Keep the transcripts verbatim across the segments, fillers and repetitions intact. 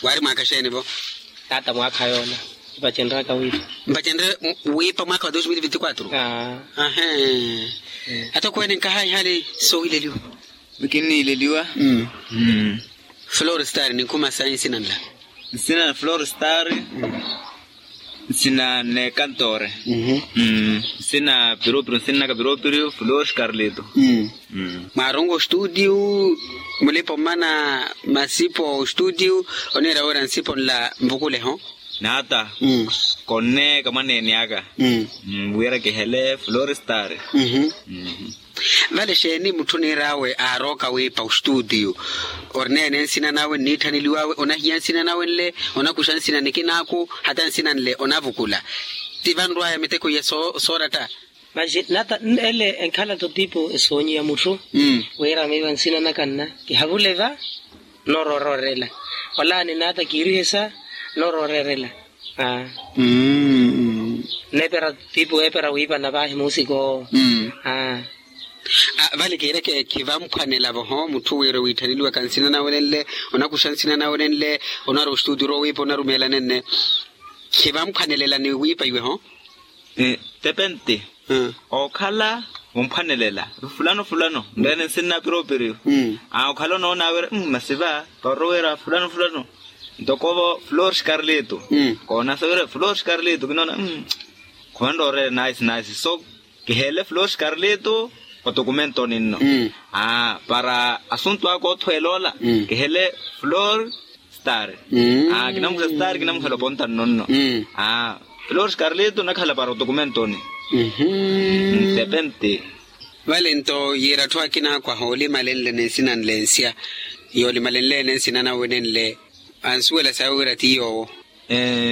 Waari mwaakha xeeni-vo? Taata mwaakha yoola. Mpacenraka wiipa. Mpacenre wiipa mwaakha wa dos mil vinti kwatru. Ahee. Atokweene nkahaayi hali soowileliwa. Kinniileliwa. Flor star ninkhuma sayi nsina nla? Nsina na flor star. Nsina nekantoore. Nsina piropiro nsinnaka piropiro flor scarleto. Mwaarongo ostudio mulipa omana masipo ostudio oniira wira nsipo nla mvukuleho? Naata. Konneeka mwaneeni aka. Wira kihele flor star. Vale xeeni mutthu oniir'awe aarooka wiipa ostuutiyu? Orineene nsina nawe nniitthaneliw'awe onahiya nsina nawe nle onakuxa nsina nikinaaku hata nsina nle onavukula? Ti vanrw'aya miteko iya sooratta. Maxi nata ele enkhala-tho tipo esoonyiya mutthu. Wira miiva nsina naka nna kihavule va nooroorela. Olani nata kiirihesa nooroorela. Aa. Neepera tipo eepera wiipana vaahi muusik'owo. Aa. Vale kiireke khivamphwanela-vo ho mutthu wira wiitthaneliwaka nsina nawe nenle onakuxa nsina nawe nenle onarwa ostuuturu owiipa onarumeelane nne. Khivamphwanelela ni wiipa iwe ho. Tepente. Okhala womphwanelela fulano fulano nreene nsinna piropiriyo. Okhala onoona wira masi va parorowera fulano fulano. Ntoko-vo flor scarleto. Koonasa wira flor scarleto kinoona. Khuvanroorele naisi naisi so kihele flor scarleto otokumento ninno. Para asuntu aka othweela ola kihele flor star. Kinamukhela star kinamukhela oponta nno nno. Flor scarleto nakhala para otokumento ni. Tepente. Vale nto yiira atthu akina akwaha olimalenle ni nsina nle nsya yoolimalenle ene nsina nawe nenle ansuwela sawe wira ti yoowo.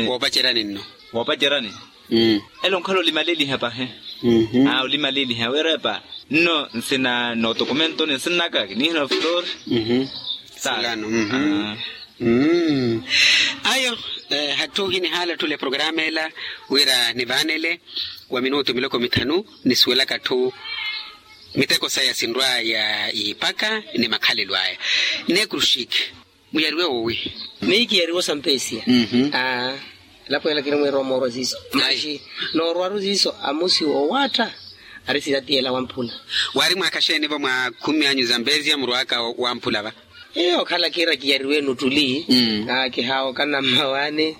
Woopacerya ninno. Woopacerya ni. Ele onkhala olimaleliha pahi. Olimaleliha wira epa nno nsina nootokumento ni nsinnaka kiniihina flor. Star. Ayo. Hatthu hinihaala tthule programa ela wira nivaanele wa minutu miloko mithanu nisuwelaka atthu miteko saya sinrw'aya yiipaka ni makhalelo aya. Nekrushik. Muyariwe woowi? Miyo kiyariwe osampesiya. Aa. Elapo ela kinimwiira omoorwa siiso maxi noorwaru siiso amusi owaatta ari sitatiya ela wamphula. Waari mwaakha xeeni-vo mwa khumi anyu zampesiya murw'aka wamphula va? Okhala kiira kiyariwe nuttuli. Aa kihaawo kanammawaani.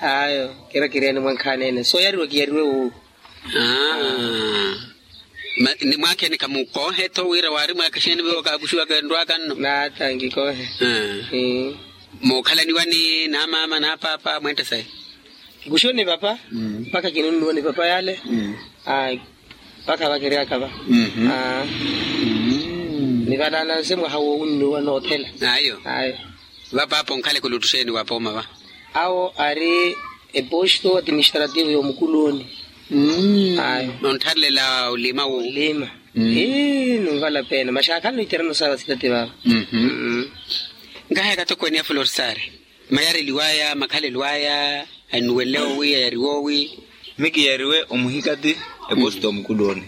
Ayo kiira kireeni mwankhaani ene sooyariwa kiyariwe woowi? Ni mwaakheeni khamukoohe-tho wira waari mwaakha xeeni viiwo kaakuxiwaka enrw'aka nno? Naata nkikoohe. Mookhalaniwa ni naamaama naapaapa mweetta sayi? Kikuxiwa ni papa. Mpakha kinunnuwa ni papa yale. Mpakha vakeryaka va. Ni vanaananse mwaha wowunnuwa noothela. Ayo. Vapaapa onkhaleke oluttu xeeni wa pooma va? Awo ari eposto atiministrativo y'omukuloni. Ayo. Nonttharilela olima wo olima. Ii nunvala peena maxaakhani noiterano saava sitati vaava. Nkahaya katokweene ya florsari mayareliwaya makhalelo aya. Anuwele owi ayariwe owi? Mikiyariwe omuhikati eposto omukuloni.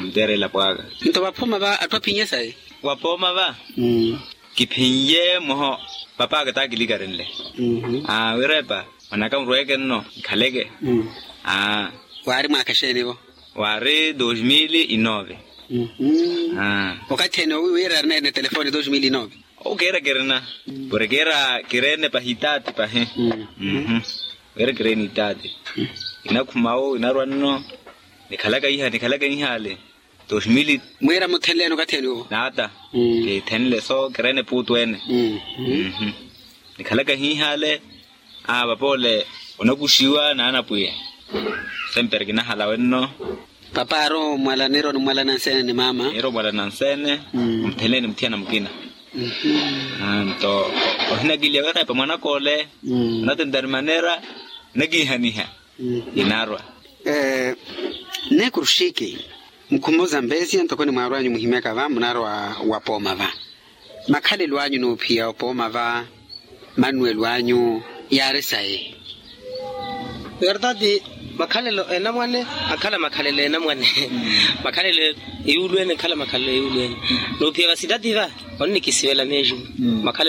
Nteerela pwaaka. Nto vaphoma va atthu aphinye sayi? Vapooma va kiphinye mwaha papaaka taakilikarenle. Aa wira epa mwanaka murweeke nno nkhaleke. Aa. Waari mwaakha exeeni-vo? Waari dos mil e nove. Okathi ene owi wira arina ene telefoni dos mil e nove? Okeera kirina. Pori keera kireene pahi itaati pahi. Keera kireene itaati. Inakhuma wo inarwa nno. Nikhalaka iha nikhalaka ihaale. Dos mil. Mwiira muthenleeni okathi ene wo? Naata. Kithenle so kireene puutu ene. Nikhalaka hiihaale. Aa papoole onakuxiwa n'anapwiya. Sempre kinahala wenno. Papa aari omwala niiri onimwala nanseene ni maama. Niiri omwala nanseene. Omuthenleeni muthiyana mukina. Nto ohinakiliya wira epa mwanaka ole. Onatentari maneera nakiihaniha. Inarwa. Nne kruxiki. Mukhumo za mbeesiya ntoko ni mwaarwanyu muhimyaka va munarwa wa pooma va. Makhalelo anyu n'uphiya opooma va. Mannuwelo anyu yaari sayi? Verdade. Makhalelo enamwane akhala makhalelo enamwane. Makhalelo eyuulu ene akhala makhalelo eyuulu ene. N'uphiya vasitati va onnikisivela meeju. Makhalelo